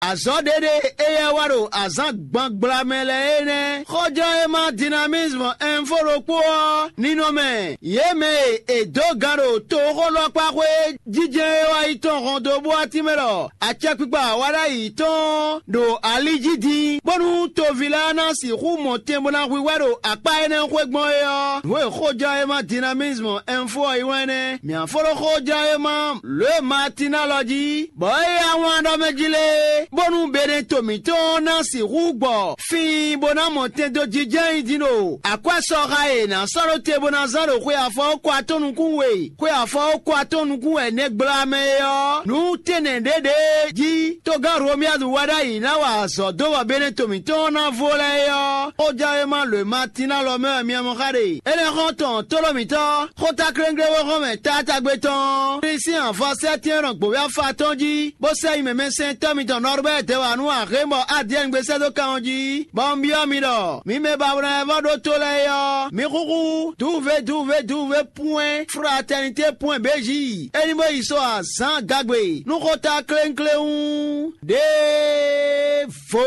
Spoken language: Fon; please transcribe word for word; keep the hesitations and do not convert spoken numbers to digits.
Azɔ̌ ɖéɖé éyɛ́ wá ɖo azǎn gbangbla mɛ lɛ́ɛ é nɛ́. Xɔjlɔ́ e ma Dynamisme Info ɖokpó ɔ́, ninɔmɛ yě mɛ e è dǒ gǎn ɖo toxólɔ́kpáxwé jijɛ e wá yi tɔn hɔn dó bó wá tínmɛ ɖɔ acɛkpikpa wa ɖ'ayǐ tɔn ɖo ali jí din, bónú toví lɛ́ɛ ná sixú mɔ tɛn bó ná hwíhwɛ́ ɖo akpá énɛ́ xwé gbɔn é ɔ́, nǔ e xójlɔ́yéma Dynamisme Info ɔ́ yí wlán nɛ́. Mǐ á fó ɖó xójlɔ́yéma lǒ e Matin ná lɔ jí, bɔ é yá wlán ɖɔ mɛ jí lé, bónú Beneto mǐtɔn ɔ́ ná sixú gbɔ fíin bó ná mɔ tɛn dó jijɛ nyi din ɖo akwɛ́sɔxa e è nǎ sɔ́ ɖó te bó ná zán ɖo xwe afɔwókɔ atɔ́ nukún we, xwe afɔwókɔ atɔ́ nukún wɛ nɛgbla mɛ é ɔ́, nǔ tɛnɛ ɖěɖě jí togán Romiyadu wá ɖ'ayǐ ná wa azɔ̌ dó bɔ Beneto mǐtɔn ɔ́ ná vo lɛ́ɛ é ɔ́, xójlɔ́yéma lǒ e Matin ná lɔ mɛ wɛ mi mɔ xá ɖe. Énɛ́ xɔ́ntɔn tóɖó mǐtɔn, xótákléŋglé xɔ́mɛ taátagbe tɔn ɔ́, sín avɔ sɛ́tɛ́n nɔ gbǒví afa tɔn jí, bó sɛ́ nyi mɛmɛsɛntɔ́ mitɔn Nɔrbɛ́ɛ Dɛwanu Ahémɔ Adiɛ́ngbé sɛ́ dó kan ɔ́ jí, bɔ un byɔ́ mi ɖɔ mi mɛ ba wlán wɛ vɔ ɖótó lɛ́ɛ é ɔ́, mi xúxú duve duve duve pwɛ́n fraternité pwɛ́n béji é ní bó yi so azǎn gagbe nú xótákléŋklé hú ɖěvo.